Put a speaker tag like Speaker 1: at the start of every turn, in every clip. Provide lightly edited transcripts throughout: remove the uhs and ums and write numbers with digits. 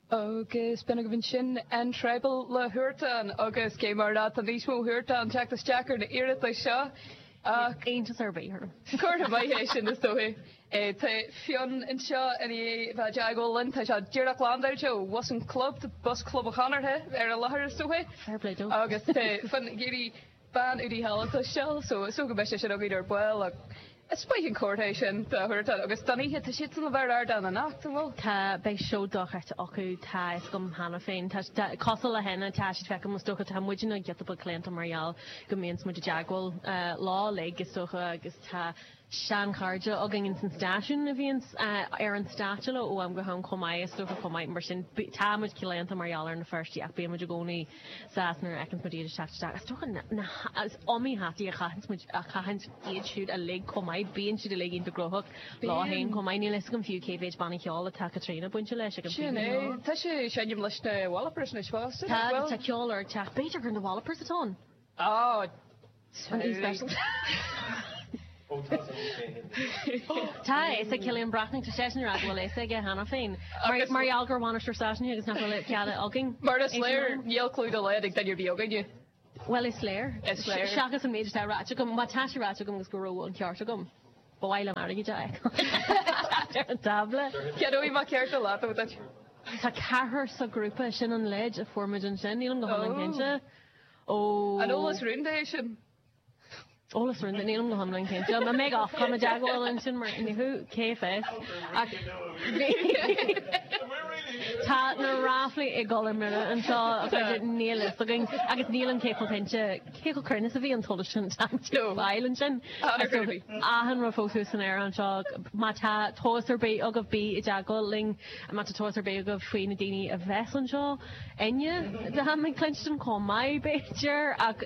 Speaker 1: Agus b'in agaibh ansin An Tribal le Huartan agus cé mar atá níos mó Huartan teacht isteach ar na iarratais seo
Speaker 2: ach. Iontas ar bith orm.
Speaker 1: Comhartha maith é sin is dóigh. Tá Fionn anseo i ndiaidh bheith i dteagmháil linn. Tá sé díreach landáilte ó bhus an chlub, bus Chlub an Chonartha ar an láthair is dóigh.
Speaker 2: Fair play dó.
Speaker 1: Agus tá Fionn ag iarraidh bean údaí thall a chloisteáil so is dócha go mbeidh sé sin againn ar ball ach is maith an comhartha é sin do Huartan agus don oíche tá siadsan le bheith ar ardán anocht, an bhfuil?
Speaker 2: Tá, beidh seó dochreidte acu, tá a fhios agam cheana féin. Tá, tá, cosúil le hEnna, tá siad feicim is dócha, tá muidne giota beag claonta mar gheall go mbíonns muid i dteagmháil leo uilig is dócha agus tá seanchairde againn ins an stáisiún a bhíonns ar an stáitse leo ó am go ham chomh maith, is dócha chomh maith. Mar sin, tá muid claonta mar gheall ar na Feirstigh ach bíonn muid i gcónaí sásta nuair a fheiceanns muid iad ag teacht isteach. Is dócha na, is iomaí hataí a chaitheanns muid, a chaitheanns iad siúd uilig chomh maith. Bíonn siad uilig iontach gnóthach leo féin chomh maith. Níl a fhios agam fiú cé mhéid banna ceoil atá Caitríona bainte leis ag an
Speaker 1: Sin é. Tá sí ag seinm leis na Wallopers anois fosta,
Speaker 2: nach bhfuil? Tá, tá ceol ar teacht. B'fhéidir gur na Wallopers atá ann.
Speaker 1: Á,
Speaker 2: An E special. Tá a fhios ag Cillian Breathnach, tá seisean ag rá go bhfuil a fhios aige cheana féin. Mar gheall gur bhainisteoir stáisiúin agus nach bhfuil cead againn.
Speaker 1: Mar is léir, níl clue dá laghad ag duine ar bith againne.
Speaker 2: Bhuel, is léir.
Speaker 1: Is léir.
Speaker 2: Seachas an méid atá ráite agam. Má tá sé ráite agam agus go raibh an ceart agam, ba mhaith liom airgead a fheiceáil ar an tábla.
Speaker 1: Ceadóidh mé ceart a leat ó duit.
Speaker 2: Tá ceathrar sa ghrúpa, sin an leid a fuair muid ansin, nílim go hiomlán cinnte. Ó.
Speaker 1: An eolas rúnda é sin?
Speaker 2: Eolas rúnda, nílim go hiomlán cinnte. An mbeidh Ofcom i dteagmháil ansin mar ní hú cé fios. Ach bhí Tá na ráflaí ag dul ar mire anseo a chairde, níl fhios againn agus nílim cé chomh cinnte cé chomh cruinn is a bhí an t-eolas sin tá muid ag fáil ansin. Achan rud fós thuas san aer anseo. Má tá tomhas ar bith agaibh bí i dteagmháil linn. Má tá tomhas ar bith agaibh faoi na daoine a bheas anseo inniu, táim ag cluinstin chomh maith, b'fhéidir, ach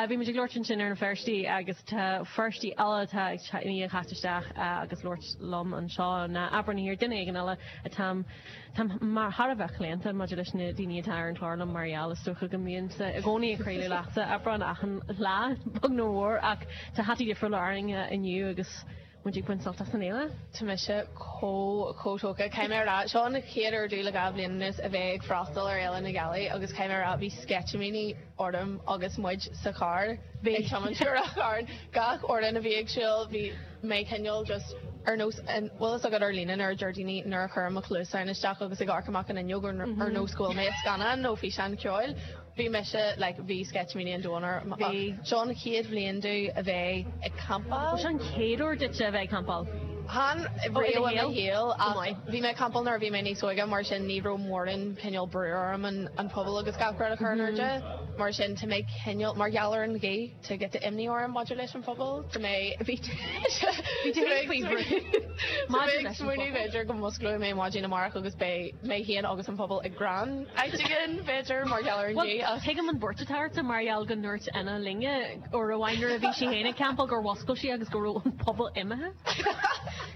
Speaker 2: bhí muid ag labhairt ansin ar na Feirstigh agus tá Feirstigh eile atá ag teacht isteach agus labhairt liom anseo ná Aibreán Thiar, duine éigin eile atáim, táim mar thar a bheith claonta maidir leis na daoine atá ar an chlár liom mar gheall is dócha go mbímse i gcónaí ag craoladh leatsa, Aibreán, achan lá, beag nó mór, ach tá hataí difriúla orainn inniu agus. Muid ag baint sult as an fhéile.
Speaker 3: Tá mise chomh, chomh tógtha. Caithfidh mé a rá, seo an chéad uair domh le 2 bhliain anuas a bheith ag freastal ar Fhéile na Gealaí agus caithfidh mé a rá, bhí sceitimíní orm agus muid sa charr ag tiomáint go Ráth Chairn. Gach amhrán a bhí ag siúl, bhí mé cineál just ar nós, an bhfuil fhios agat ar líne nuair a deir daoine nuair a chuirim mo chluasáin isteach agus ag amharc amach an fhuinneog ar nós go bhfuil mé i scannán nó físeán ceoil. Bhí mise, like, bhí sceitimíní an domhain orm ach seo an chéad bhliain domh a bheith ag campáil.
Speaker 2: Seo an chéad uair duitse a bheith ag campáil?
Speaker 3: Chan riamh i mo shaol ach bhí mé ag campáil nuair a bhí mé níos óige mar sin ní raibh mórán cineál brú orm an puball agus gach rud a chur in airde. Mar sin tá mé cineál, mar gheall ar an ghaoth, tá giota imní orm maidir leis an phuball. Tá mé,
Speaker 2: bhí tú féin faoi bhrú
Speaker 3: maidir leis an phuball. Smaoineamh b'fhéidir go musclóidh mé maidin amárach agus beidh mé féin agus an puball i gcrann áit éigin, b'fhéidir, mar gheall ar an
Speaker 2: ghaoth ach. Tuigim an bhuairt atá ortsa mar gheall go ndúirt Anna linne uair amháin nuair a bhí sí féin ag campáil gur mhuscail sí agus go raibh an puball imithe.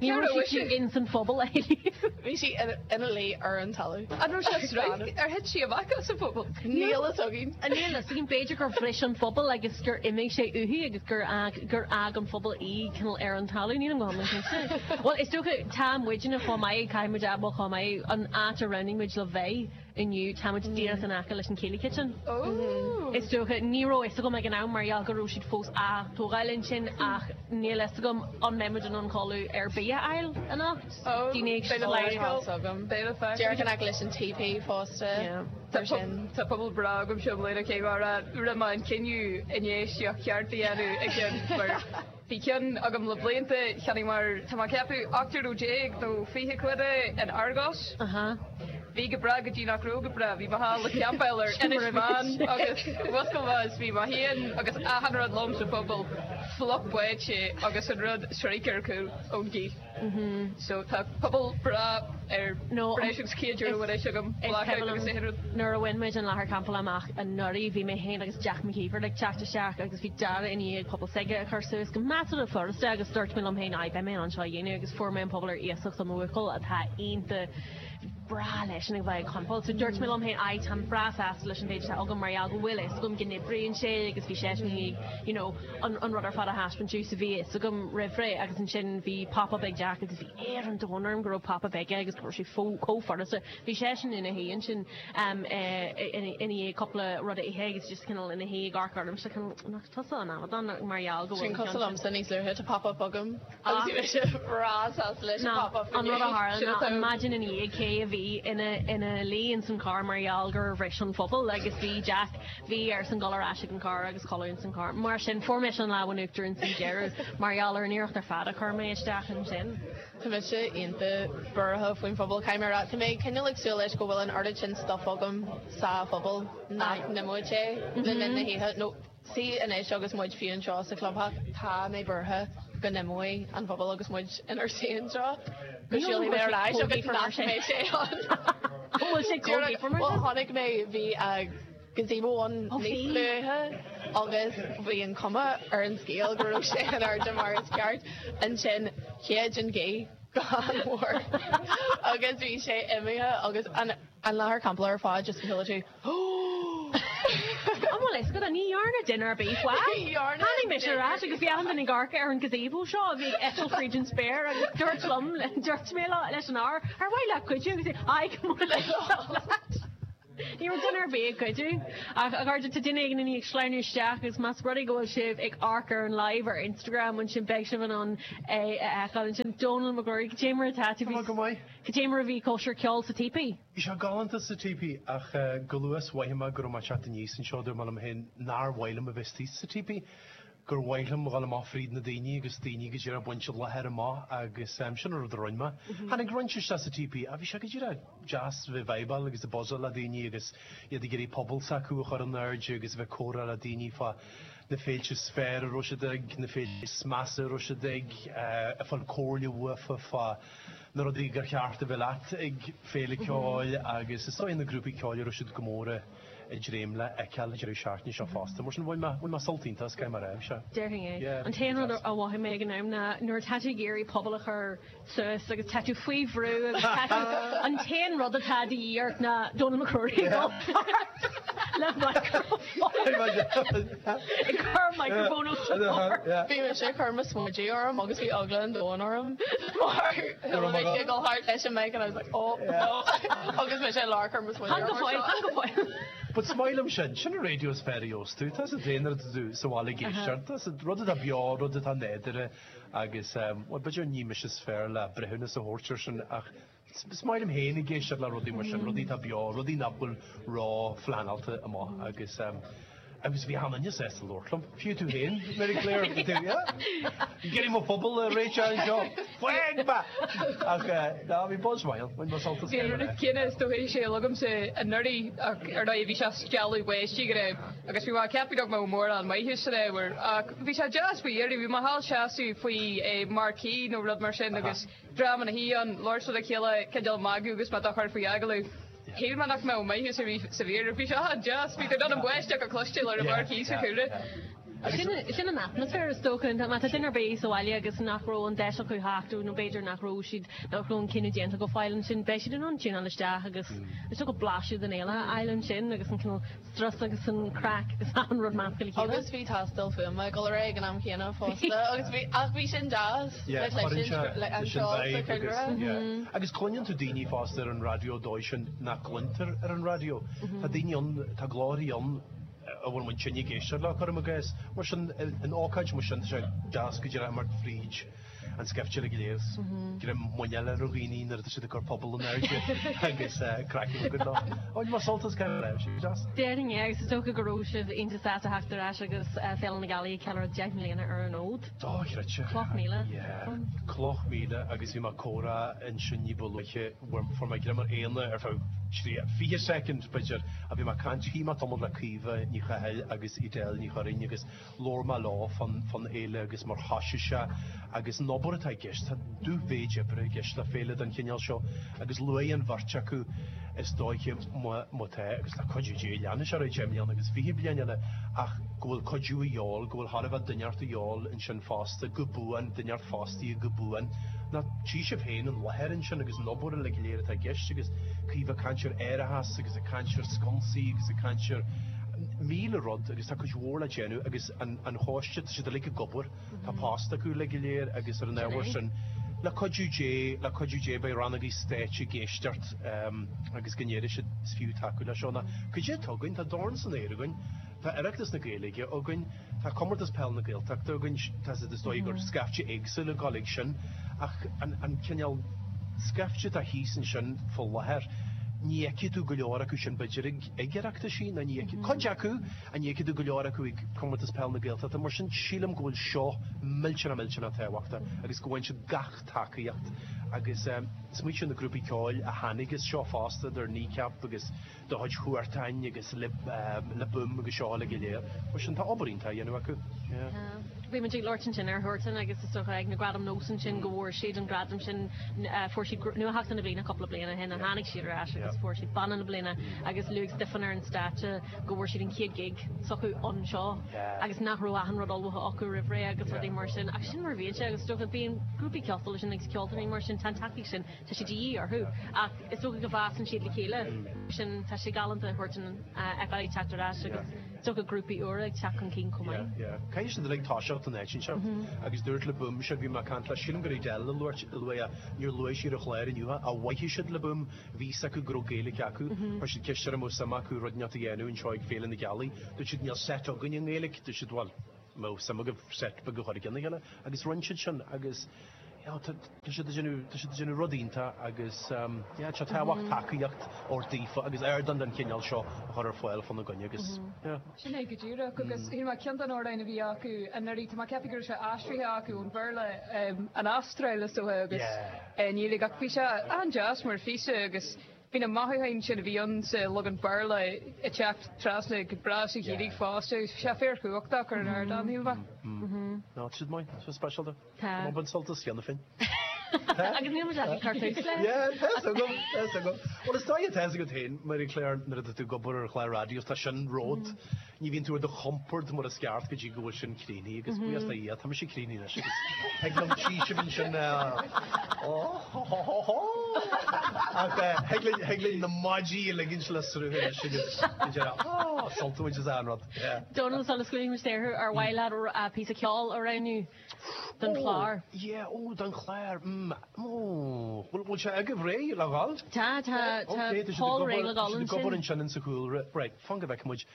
Speaker 2: Ní raibh sí fiú ins an phuball a thuilleadh.
Speaker 3: Bhí sí ina luí ar an talamh.
Speaker 1: An raibh sé sraith? Ar thit sí amach as an phuball?
Speaker 3: Níl fhios againn.
Speaker 2: Níl fhios againn. B'fhéidir gur bhris an puball agus gur imigh sé uaithi agus gur fhág gur fhág an puball í cineál ar an talamh. Nílim go hiomlán cinnte. Bhuel, is dócha, tá muidne chomh maith, caithfidh muid a admháil chomh maith, an áit a roghnaigh muid le bheith inniu, tá muid díreach in aice leis an Céilí Kitchen. Is dócha, ní raibh fhios agam ag an am mar gheall go raibh siad fós á tógáil ansin ach níl fhios agam an mbeidh muid in ann codladh ar bith a fháil anocht. Daoine ag
Speaker 3: siúl. Díreach in aice leis an TP fosta.
Speaker 1: Tá puball breá agamsa i mbliana cé mar a rinne mé an cinneadh infheistíocht cheart a dhéanamh i gceann mar Bhí ceann agam le blianta, cheannaigh mar, tá mé ag ceapadh, 18 euro nó 20 quid é in Argos. Bhí go breá go dtí nach raibh go breá. Bhí mé thall ag campáil ar Inis Meáin agus mhuscail mé is bhí mé féin agus achan rud liom sa phuball fliuch báite agus an rud sroichte ar cúl ón ghaoth. So tá puball breá ar breis agus €100 anois agam, blackout agus achan rud.
Speaker 2: Nuair a bhain muid an láthair campála amach anuraidh bhí mé féin agus Jack McKeever ag teacht isteach agus bhí Dara i ndiaidh puball s'aige a chur suas go measartha furasta agus dúirt mé liom féin aye beidh mé in ann seo a dhéanamh agus fuair mé an puball ar iasacht ó mo bhuachaill atá iontach. breá leisean ag bheith ag campáil. So dúirt mé liom féin, aye, táim breá sásta leis an mhéid atá agam mar gheall go bhfuil fhios agam go n-oibríonn sé agus bhí seisean i ndiaidh, you know, an, an rud ar fad a thaispeáint domh so bhí fhios agam roimh ré agus ansin bhí pop-up ag Jack agus bhí air an domhain orm go raibh pop-up aige agus go raibh sé fó, chomh furasta. Bhí seisean ina shuí ansin um, ina dhiaidh cúpla rud a ithe agus just cineál ina shuí ag amharc ormsa cineál, nach tusa an amadán mar gheall go
Speaker 3: bhfuil
Speaker 2: Sin
Speaker 3: an cosúil ceann sin. liomsa níos luaithe, tá pop-up agam. Agus bhí mise breá sásta leis an pop-up
Speaker 2: An rud a tharla ná an maidin ina dhiaidh cé a bhí ina ina luí ins an carr mar gheall gur bhris an phuball agus bhí Jack, bhí airsean dul ar ais ag an carr agus codladh ins an carr. Mar sin fuair mise an lámh in uachtar ins an deireadh mar gheall ar an iarracht ar fad a chuir mé isteach ansin.
Speaker 3: Tá mise iontach buartha faoin phuball, caithfidh mé a rá. Tá mé cineál ag súil leis go bhfuil an oiread sin stuff agam sa phuball nach n-imeoidh sé le linn na hoíche nó See anois agus muid fiú anseo sa chlubtheach, tá mé buartha go n-imeoidh an puball agus muid inár suí anseo, go siúlfaidh mé ar ais agus nach mbeidh sé ann.
Speaker 2: An bhfuil sé chomh gaofar
Speaker 3: mar sin? Bhuel, chonaic mé, bhí gazebo ann níos luaithe agus bhí an chuma ar an scéal go raibh sé in airde mar is ceart. Ansin shéid an ghaoth go han-mhór agus bhí sé imithe agus an láthair campála ar fad just chuala tú
Speaker 2: An bhfuil fhios agat, ní dhearna duine ar bith faic. Tháinig mise ar ais agus bhí achan duine ag amharc ar an gazebo seo a bhí ag eitilt fríd an spéir agus dúirt liom, dúirt mé leis an fhear, ar mhaith leat cuidiú? Agus é, aye, go mba leat. Ní raibh duine ar bith ag cuidiú. Ach a chairde, tá duine éigin i ndiaidh sleamhnú isteach agus más rud é go bhfuil sibh ag amharc ar an live ar Instagram ansin beidh sibh in ann é a fheiceáil ansin. Dónal Mac Ruairí, cad é mar atá tú?
Speaker 4: Tá mé go maith.
Speaker 2: Cad é mar a bhí cóisir ceoil sa Típí?
Speaker 4: Bhí sé galánta sa Típí ach go luath is mhothaigh mé go raibh mé ag teacht aníos anseo dúirt mé liom féin nár mhaith liom a bheith istigh sa Típí, gur mhaith liom a dhul amach fríd na daoine agus daoine go díreach ag baint an láthair amach agus sin an rud a rinne mé. Tháinig roinnt isteach sa Típí ach bhí sé go díreach deas bheith ag vibeáil agus ag buzzáil le daoine agus iad ag iarraidh pobal s'acu a chur in airde agus a bheith ag comhrá le daoine fá na féilte is fearr a raibh siad ag, na féilte is measa a raibh siad ag, ag fáil comhairle uafa fá na rudaí gur cheart a bheith leat ag féile ceoil agus is dóigh na grúpaí ceoil a raibh siad go mór ag dréim le feiceáil an deireadh seachtaine seo fosta. Mar sin bhain mé, bhain mé sult iontach as, caithfidh mé a rá, sea.
Speaker 2: Déarfainn é. Yeah, An t-aon rud a mhothaigh mé ag an am ná nuair atá tú ag iarraidh puball a chur suas agus tá tú faoi bhrú agus tá tú, an t-aon rud atá de dhíth ort ná Dónal Mac Ruairí ag dul thart le micreafón. Ag cur micreafón os do chomhair.
Speaker 3: Bhí mise ag cur mo smideadh orm agus bhí eagla an domhain orm mar chuala mé ag dul thart leis an mic and I was like oh no agus mise i lár cur mo smideadh
Speaker 2: orm. Fan go fóill, fan go fóill.
Speaker 4: But is maith liom sin, sin an raidió is fearr a gheobhas tú, tá a fhios agat nuair atá tú sa bhaile ag éisteacht, tá a fhios agat rud atá beo, rud atá nádúrtha agus bhuel b'fhéidir ní mise is fearr le breithiúnas a thabhairt ar sin ach Is maith liom féin ag éisteacht le rudaí mar sin, rudaí atá beo, rudaí nach bhfuil ró-phleanáilte amach agus agus bhí achan duine sásta labhairt liom, fiú tú féin, Mary Claire, bhí tú, yeah, ag iarraidh mo phuball a réiteach anseo, fág mé! Ach ná, bhí buzz maith ann, bhain mé sult as
Speaker 1: Bhí an rud céanna is dóigh sé agamsa anuraidh ach ar ndóigh bhí sé stealladh báistí go raibh agus bhí mé ag ceapadh nach mbeadh mórán maitheas san ábhar ach bhí sé deas faoi dheireadh, bhí mé thall seasamh faoi marquee nó rud mar sin agus Dream ina shuí ann, labhairt le chéile, cineál magadh agus mé dá chur faoi agallamh. Shíl mé nach mbeadh maitheas ar bith sa mhír. Bhí sé an-deas. Bhí tú in ann an bháisteach a chloisteáil ar an marquee sa chúlra.
Speaker 2: Sin an atmaisféar is dócha. Má tá duine ar bith sa bhaile agus nach raibh an deis acu theacht nó b'fhéidir nach raibh siad, nach raibh an cinneadh déanta go fóill ansin, beidh siad in ann tiúnáil isteach agus is dócha blaiseadh den fhéile a fháil ansin agus an cineál strus agus an craic agus achan rud measctha le chéile.
Speaker 3: Agus bhí tástáil fuaime ag dul ar aghaidh ag an am chéanna fosta agus bhí, ach bhí sin deas le cloisint le an ceol sa chúlra.
Speaker 4: Agus cluineann tú daoine fosta ar an raidió dóigh sin nach gcluintear ar an raidió. Tá daoine ann, tá glórthaí ann a bhfuil muid tinn ag éisteacht leo, cuirim i gcás. Mar sin, in ócáid mar sin, tá sé deas go díreach imeacht fríd an scaifte uilig go léir is greim muineáil ar dhaoine nuair atá siad ag cur puball in airde agus craic a bheith agat leo. Bhain mé sult as caithfidh mé a rá, bhí sé deas.
Speaker 2: Déarfainn é agus is dócha go raibh sibh iontach sásta theacht ar ais agus Féile na Gealaí ag ceiliúradh 10 mbliana ar an fhód.
Speaker 4: Dochreidte.
Speaker 2: Cloch míle.
Speaker 4: Yeah. Cloch míle agus bhí mé ag comhrá ansin ní ba luaithe, fuair mé greim ar Éanna ar feadh 20 soicind b'fhéidir ach bhí mé ag caint, shuigh mé tamall le Caoimhe Ní Chathail agus Edel Ní Churraoin agus Labhair mé leo fán fhéile agus mar thoisigh sé agus an obair atá i gceist. Tá dúmhéid oibre i gceist le féile den chineál seo agus luaigh an bheirt acu is dóiche má tá, agus le cuidiú Dé leanfaidh sé ar aghaidh 10 mbliana agus 20 bliain eile, ach go bhfuil cuidiú a dhíobháil, go bhfuil chóir a bheith duine inteacht a dhíobháil ansin fosta go buan, duine inteacht fostaithe go buan. Ná tchí sibh féin an láthair ansin agus an obair uilig go léir atá i gceist agus caoimhe ag caint ar árachas agus ag caint ar sconsaí agus ag caint ar 1000 rud agus tá cuid mhór le déanamh agus an an choiste tá siad uilig ag obair, tá post acu uilig go léir agus ar an ábhar sin le cuidiú Dé, le cuidiú Dé beidh rannaigí stáit ag éisteacht agus go ndéarfaidh siad is fiú tacú le seo ná cad é atá againn, tá dorn san aer againn, tá Oireachtas na Gaeilge againn, Tá Comórtas Peile na Gaeltachta againn, tá is dóigh gur scaifte éagsúil ag dul ag sin, ach an cineál scaifte atá thíos ansin fá láthair, ní fheicfidh tú go leor acu sin b'fhéidir ag ag Oireachtaisí ná ní fheicfidh, cuid acu, ach ní fheicfidh tú go leor acu ag Comórtas Peile na Gaeltachta. Mar sin sílim go bhfuil seo millteanach millteanach tábhachtach agus go bhfaigheann siad gach tacaíocht agus smaointigh ar na grúpaí ceoil a tháinig as seo fosta, idir Kneecap agus de chuid Huartáin agus Le Boom agus seo uilig go léir. Mar sin tá obair iontach á dhéanamh acu. Yeah.
Speaker 2: Bhí muid ag labhairt ansin ar Huartan agus is dócha ag na Gradaim Nós ansin go bhfuair siad an gradam sin, fuair siad Nuatheachtaí na Bliana cúpla bliain ó shin a tháinig siad ar ais agus fuair siad Banna na Bliana agus luaigh Stiofán ar an stáitse go bhfuair siad an chéad gig s'acu anseo agus nach raibh achan rud ullmhaithe acu roimh ré agus rudaí mar sin ach sin mar a bhíonn sé agus is dócha bíonn grúpaí cosúil leis sin agus ceoltóirí mar sin tá an tacaíocht sin tá sé de dhíth orthu ach is dócha go bhfásann siad le chéile. Sin, tá sé galánta Huartan a fheiceáil ag teacht ar ais agus is dócha grúpaí úra ag teacht chun cinn chomh maith.
Speaker 4: Yeah, yeah. Caithfidh siad uilig toiseacht in áit inteacht agus dúirt Le Boom sin, bhí mé ag caint le, sílim gur Edel a luaigh é, níor luaigh sí ar an chlár inniu é, ach mhothaigh siad Le Boom, bhí fhios acu go raibh Gaeilge acu, chuir siad ceist orm an raibh suim acu rud inteacht a dhéanamh anseo ag Féile na Gealaí, dúirt siad níl set againn i nGaeilge, dúirt siad bhuel, mbeadh suim agaibh set beag a chur i gcionn a chéile agus rinne siad sin agus you know, tá siad ag déanamh, tá siad ag déanamh rud iontach agus yeah, tá tábhacht tacaíocht ort daofa agus ardán den chineál seo a chur ar fáil fána gcoinne agus yeah.
Speaker 1: Sin é go díreach agus shíl mé ceann den amhráin a bhí acu anuraidh, tá mé ag ceapadh go raibh sé aistrithe acu ón Bhéarla, an Astráil is dócha agus i nGaeilge ach bhí sé an-deas mar phíosa agus Bhí na mothúcháin sin a bhí ann sa leagan Béarla ag teacht trasna go breá sa Ghaeilge fosta. Bhí sé fíorchumhachtach ar an ardán, shíl mé.
Speaker 4: Ná, tá siad maith, tá siad speisialta. Tá. Tá mé ag baint sult as cheana féin.
Speaker 2: Agus níl muid ach ag cur tús leis.
Speaker 4: Yeah, tá fhios agam, tá fhios agam. Bhuel, is dóigh atá fhios agat féin, Mary Claire, nuair atá tú ag obair ar chlár raidió, tá sin rud, Ní bhíonn tú ar do chompord mar is ceart go dtí go bhfuil sin críochnaithe agus buíochas do Dhia, tá mise críochnaithe anois agus thig liom tchí sibh ansin Ach thig linn, thig linn na maidí a ligint le sruth anois agus go deireadh, á, sult a bhaint as an rud.
Speaker 2: Dónal, sula scaoilfidh muid saor thú, ar mhaith leat píosa ceoil a roghnú don chlár?
Speaker 4: Yeah, ó, don chlár, mm, ó, bhfuil, bhfuil sé agaibh réidh le dhul?
Speaker 2: Tá, tá, tá Paul réidh le dhul
Speaker 4: ansin. Tá siad ag obair ansin insa chúlra. Right. Fan go bhfeicfidh muid.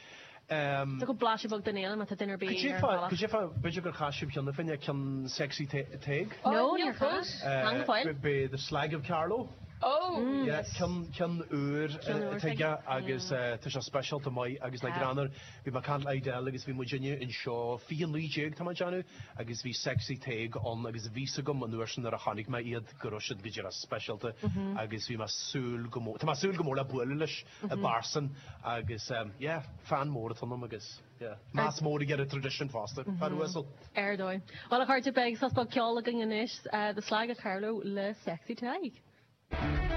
Speaker 2: Tá go blaiseadh beag den fhéile má tá duine ar bith ar an bhealach.
Speaker 4: Cad é fá, b'fhéidir gur chas sibh cheana féin é, ceann Sexy Tadhg?
Speaker 2: No, níor chas. Fan go fóill.
Speaker 4: B'é The Slag of Carlow.
Speaker 1: Oh!
Speaker 4: Yeah, ceann, ceann úr atá aige agus tá sé speisialta maith agus le greannmhar. Bhí mé ag caint le Edel agus bhí muidinne anseo 2019 tá mé ag déanamh agus bhí Sexy Tadhg ann agus bhí fhios agam an uair sin nuair a chonaic mé iad go raibh siad go díreach speisialta agus bhí mé súil go mór, tá mé súil go mór le bualadh leis i bpearsan agus yeah, fan mór atá ionam agus yeah, meas mór aige ar an traidisiún fosta, fear uasal.
Speaker 2: Ar dóigh. Bhuel a chairde, beidh sos beag ceoil againn anois, The Slag of Carlow le Sexy Tadhg.